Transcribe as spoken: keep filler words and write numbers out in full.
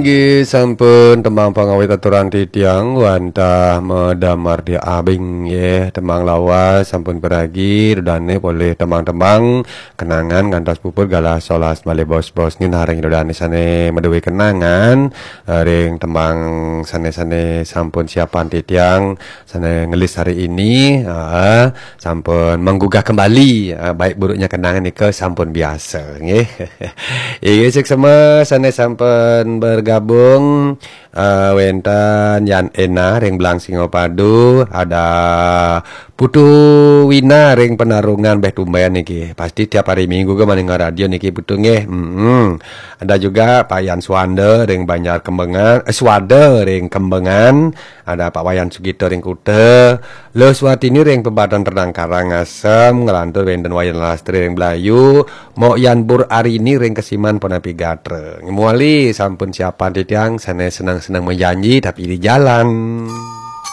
Inggih sampun tembang pangawit aturan titiang wantah madamar di abing nggih. Tembang lawas sampun piragi, rudane polih tembang-tembang kenangan ngantos puput galah solas malih bos-bos nggih. Nah, ring rudane sane maduwe kenangan, eh, ring tembang sane-sane sampun siapan titiang, sane ngelis hari ini, heeh, sampun menggugah kembali, eh, baik buruknya kenangan nika sampun biasa nggih. Inggih, suksma sane sampun bergabung, eh, wenten Yan Ena ring Belang Singapadu, ada Putu Wina ring Penarungan beh tumben niki. Pasti tiap hari Minggu ke maning radio niki Putu nggih. Mm-mm. Ada juga Pak Yan Swanda ring Banjar Kembengan, eh, Swada ring Kembengan, ada Pak Wayan Sugito ring Kuta, Luh Swatini ring Pebatan Ternang Karangasem, nglantur wenten Wayan Lastri ring Blayu, Mok Yan Bur Arini ring Kesiman punapi gatra. Muali sampun siapan titiang sane seneng-seneng menjanji tapi di jalan.